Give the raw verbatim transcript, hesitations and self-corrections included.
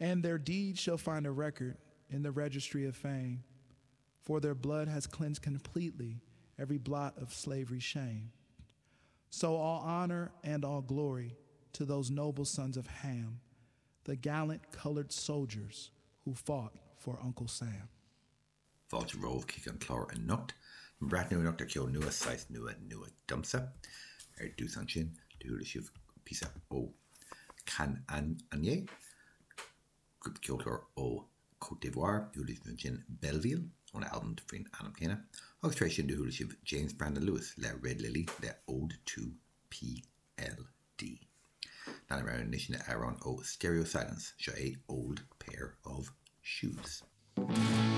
And their deeds shall find a record in the registry of fame, for their blood has cleansed completely every blot of slavery's shame. So all honor and all glory to those noble sons of Ham, the gallant colored soldiers who fought for Uncle Sam. Fáilte romhaibh chuig an clár anocht, breathnú anocht ar ceol nua saghas nua nua domsa. Ar dtús ansin do chuala sibh píosa ó Kan Anye, grúpa ceoltóir ó Côte d'Ivoire, chuala sibh ansin Belleville óna albam faoin ainm céanna, agus tar éis sin do chuala sibh James Brandon Lewis le Red Lily le Ode to PLD. Leanfaidh muid anois le amhrán ó Stereo Silence seo é Old Pair of Shoes.